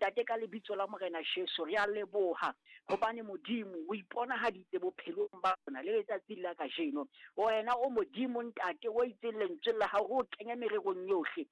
Ntate, ka lebitso la Morena Jesu, re a leboha hobane Modimo o iponahaditse bophelong ba rona le letsatsing la kajeno. Wena o Modimo, Ntate, o itseng lentsweng la hao re o kenye mererong yohle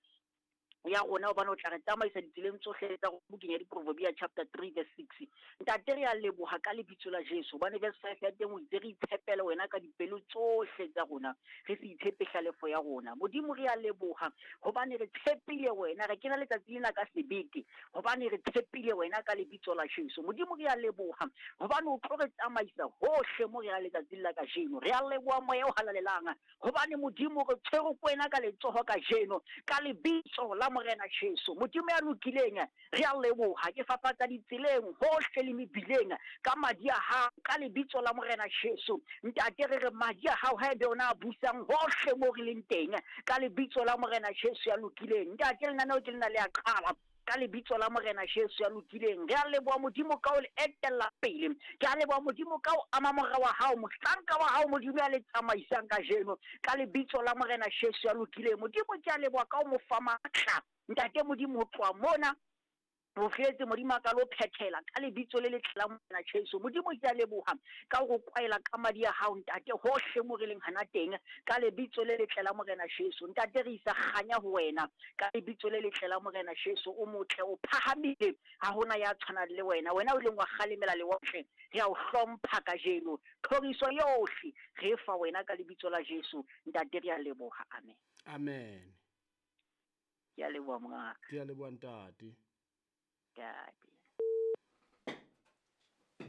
ya rona, hobane o tla re tsamaisa ditseleng tsohle tsa rona, bukeng ya Diproverbia chapter 3 verse 6. Ntate, re a leboha ka lebitso la Jesu, hobane verse 5 ya teng o itse re itshepele wena ka dipelo tsohle tsa rona, re se itshepe hlalefo ya rona. Modimo, re a leboha hobane re tshepile wena, re kena letsatsi lena ka sebete hobane re tshepile wena ka lebitso la Jesu. Modimo, re a leboha hobane o tlo re tsamaisa hohle mo re yang letsatsing la kajeno. Re a leboha Moya o Halalelang hobane Modimo re tshwerwe ke wena ka letsoho kajeno ka lebitso la Morena Jesu. Modimo ya lokileng, re a leboha. Ke fafatsa ditseleng hohle le mebileng ka madi a hao ka lebitso la Morena Jesu. Ntate, re re madi a hao ha ebe ona a busang hohle mo re leng teng ka lebitso la Morena Jesu ya lokileng. Ntate, lenaneo ke lena le a qala ka lebitso la Morena Jesu ya lokileng. Re a leboha Modimo ka o le etella pele. Ke a leboha Modimo ka o ama mora wa hao, mohlanka wa hao Modimo ya le tsamaisang kajeno ka lebitso la Morena Jesu ya lokileng. Modimo, ke a leboha ka o mo fa matla. Ntate Modimo, ho tloha mona ho fihletse Modimo a ka lo phethela ka lebitso le letle la Morena Jesu. Modimo, ke a leboha ka ho kwaela ka madi a hao, Ntate, hohle mo re leng hana teng ka lebitso le letle la Morena Jesu. Ntate, re isa kganya ho wena ka lebitso le letle la Morena Jesu. O motle, o phahamile, ha hona ya tshwanang le wena. Wena o ileng wa kgalemela lewatle, re a o hlompha kajeno. Thoriso yohle re e fa wena ka lebitso la Jesu. Ntate, re a leboha. Amen. Amen. Ke a leboha, mongaka. Ke a leboha, ntate. Ntate.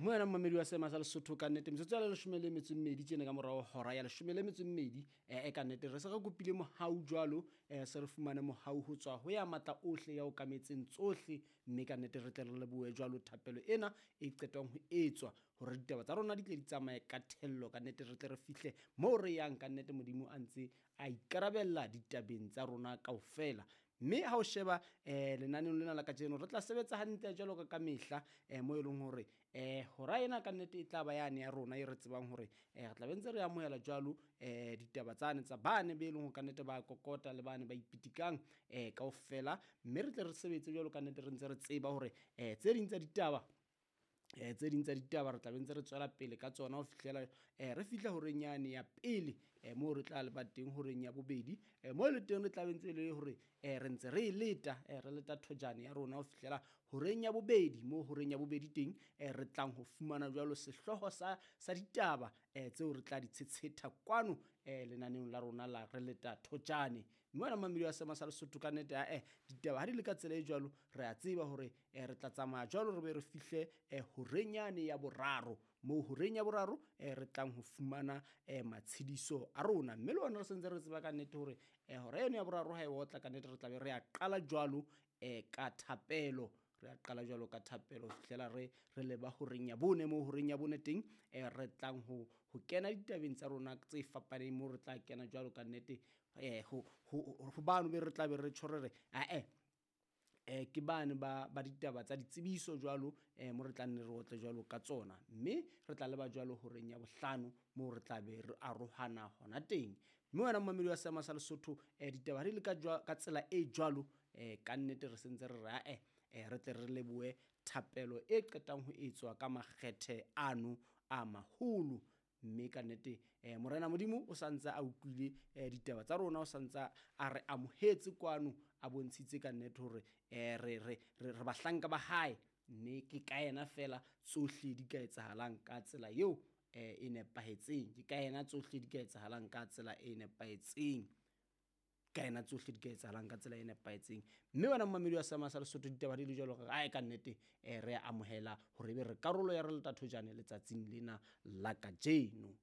Mo wena momamedi wa seema sa Lesotho, ka nnete metsotso ya le 12 tjena ka morao hora ya 12. E ka nnete re se re kopile mohau jwalo, se re fumane mohau ho tswa ho ya matla ohle ya okametseng tsohle, mme ka nnete re tle re lebohe jwalo thapelo ena e qetwang ho etswa hore ditaba tsa rona di tle di tsamaye ka thello. Ka nnete re tle re fihle moo re yang, ka nnete Modimo a ntse a ikarabella ditabeng tsa rona kaofela. Mme ha o sheba lenaneong lena la kajeno, re tla sebetsa hantle jwalo ka ka mehla, mo e leng hore hora ena ka nnete e tla ba yane ya rona e re tsebang hore re tla be ntse re amohela jwalo ditaba tsane tsa bane be e leng hore ka nnete ba kokota le bane ba ipitikang kaofela, mme re tle re sebetse jwalo ka nnete re ntse re tseba hore tse ding tsa ditaba tse ding tsa ditaba re tla be ntse re tswela pele ka tsona ho fihlela re fihla horeng yane ya pele, moo re tla leba teng horeng ya bobedi, moo le teng re tla be ntse le hore re ntse re e leta, re leta thojane ya rona ho fihlela horeng ya bobedi, moo horeng ya bobedi teng re tlang ho fumana jwalo sehlooho sa ditaba tseo re tla di tshetshetha kwano lenaneong la rona la re leta thojane. Mme wena mamedi wa seema sa Lesotho, ka nnete ae ditaba ha di le ka tsela e jwalo, re a tseba hore re tla tsamaya jwalo re be re fihle horeng yane ya boraro, moo horeng ya boraro re tlang ho fumana matshediso a rona. Mme le ona re sentse re tseba ka nnete hore hora eno ya boraro ha e otla, ka nnete re tla be re a qala jwalo ka thapelo, re a qala jwalo ka thapelo ho fihlela re leba horeng ya bone, moo horeng ya bone teng re tlang ho kena ditabeng tsa rona tse fapaneng, moo re tla kena jwalo ka nnete ho bano be re tla be re tjho re re ae ke bane ba ditaba tsa ditsebiso jwalo, mo re tla nne re otle jwalo ka tsona, mme re tla leba jwalo horeng ya bohlano moo re tla be re arohana hona teng. Mme wena momamedi wa seema sa Lesotho, ditaba di le ka tsela e jwalo, ka nnete re sentse re re ae re tle re lebohe thapelo e qetang ho etswa ka makgethe ano a maholo. Mme ka nnete Morena Modimo o santse a utlwile ditaba tsa rona, o santse a re amohetse kwano, a bontshitse ka nnete hore re bahlanka ba hae, mme ke ka yena fela tsohle di ka etsahalang ka tsela eo e nepahetseng. Ke ka yena tsohle di ka etsahalang ka tsela e nepahetseng. Ka yena tsohle di ka etsahalang ka tsela e nepahetseng. Mme wena momamedi wa seema sa Lesotho, ditaba di le jwalo ka ae ka nnete re a amohela hore ebe re karolo ya re leta thojane letsatsing lena la kajeno.